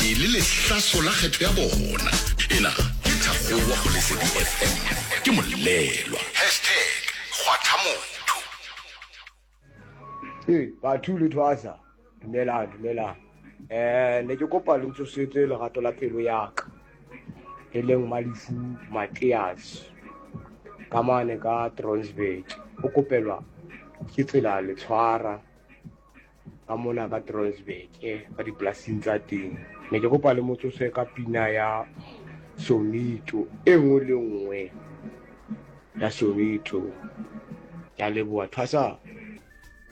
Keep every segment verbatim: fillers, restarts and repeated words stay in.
Le lehlaso la kgetho ya bona. Ena ke Thakgowa go Lesedi F M. Ke molelwa. Hashtag kgwatha motho. Ee, batho le thwasa. Dumelang, dumelang. Eh, ne ke kopa le ntsosetse lerato la pelo ya ka. E leng Malefu Matias. Ka mane ka Tronsburg. O kopelwa ke tsela le tshwara. Ka mona ka Tronsburg, eh, ka dipolasing tsa teng. Ne ke kopa le motsose ka pina ya Sonito e nngwe le nngwe ya Sonito. Ke a leboha, thwasa.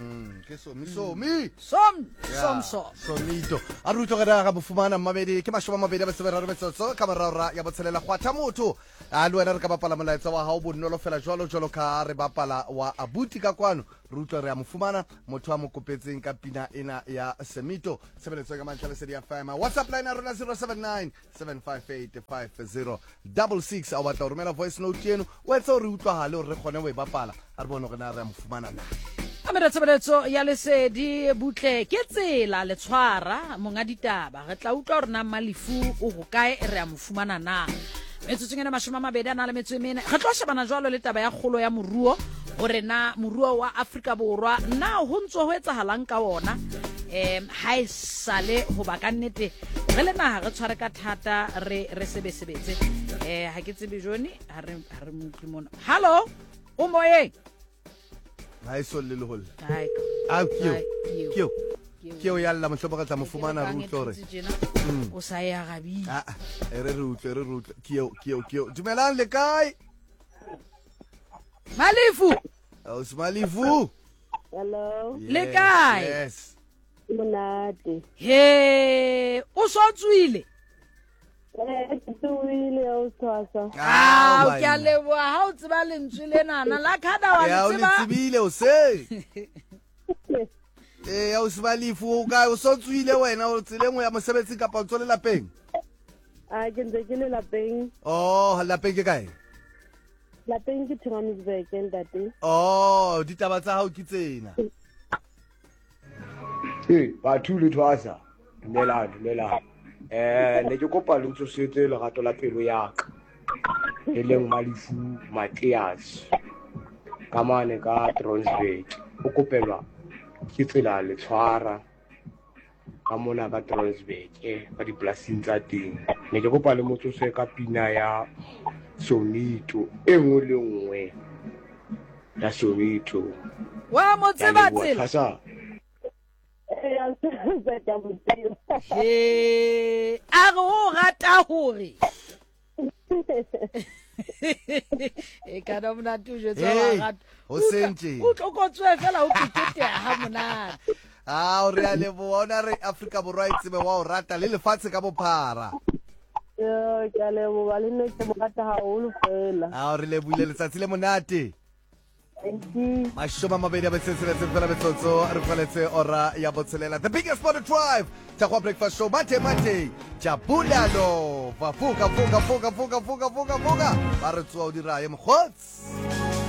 Mm, ke somi somi. Som, Ya, som, som. Sonito. A re utlwe gore ga bo fumana mmamedi ke mashome a mabedi a metso e meraro metsotso ka morao ra ya botshelela kgwatha motho. A le wena re ka bapala molaetsa wa hao bonolo fela jwalo jwalo ka re bapala wa abuti ka kwano. Re utlwe re a mo fumana motho a mo kopetseng ka pina ena ya Semito. Tshebeletso ka mantle Lesedi F M. WhatsApp line ya rona zero seven nine seven five eight five zero double six. A o batla ho romela voice note eno, o etse hore re utlwahale hore re kgone ho e bapala. A re bone hore na re a mo fumana na. Amela tshebeletso ya Lesedi butle ke tsela le tshwara monga ditaba. Re tla utlwa hore na Malefu o hokae, re a mo fumana na. Metsotsong ena mashome a mabedi a na le metso e mene. Re tlo shebana jwalo le taba ya kgolo ya moruo, hore na moruo wa Afrika Borwa na ho ntso ho etsahalang ka wona. Em, ha e sale hoba ka nnete re le naha re tshware ka thata, re, re sebesebetse. Eh, ha ke tsebe Johnny, ha re, ha re mo utlwe mona. Hallo, o moyeng? Ha e solle le holle. Hai. Ah, ke eo. Hai, ke eo. Ke eo. Ke eo. Ke eo ya lla, mohlomong re tla mo Ke fumana, re rekang e utlwe hore. thutse tjena. Mm. O sa e arabile. Ah, ah, e re re utlwe, re re utlwe. Ke eo, ke eo, ke eo. Dumelang, le kae? Malefu. Ausi Malefu. Hello. Yes, Le kae? Yes. Monate. He, o so tswile? Eh, ke tsohile, o tshwasa. Ah, Ah, ke a banna. leboha ha o tseba lentswe lenana la khada wa Ya, le o le tseba. tsebile, o se. Eh, ausi Malefu, o kae? O so tswile wena, o tseleng ho ya mosebetsing kapa o ntso le lapeng? Ah, ke ntse ke le lapeng. Oh, lapeng ke kae? Lapeng ke Johannesburg, ntate. Oh, ditaba tsa hao ke tsena. Ee, batho le thwasa. Dumelang, dumelang. Eh, ne ke kopa le ntsosetse lerato la pelo ya ka. E leng Malefu Matias. Ka mane ka Tronsburg. O kopelwa ke tsela le tshwara. Ka mona ka Tronsburg, eh, ka dipolasing tsa teng. Ne ke kopa le motsose ka pina ya Sonito e nngwe le nngwe ya Sonito. Wa mo Ke a tseba leboha, tsela? thwasa. He, a re o rata hore. E kana monate o jwetsa wa Hey, rata. ho seng tje. O tlokotswe fela o keteteha ha monate. Ah, o re a leboha, o na re Afrika Borwa e tsebe wa o rata le lefatshe ka bophara. Yo, ke a leboha, le nna ke mo rata haholo fela. Ah, o re lebohile, letsatsi le monate. Thank you. Mashome a mabedi a metso e tsheletseng fela metsotso, re faletse ora ya botshelela. The biggest sport drive, Thakgowa Breakfast Show, Mate Mate, Jabulalo, va fuka fuka fuka fuka fuka fuka fuka. Ba re tsoa o dira ye mokgotsi.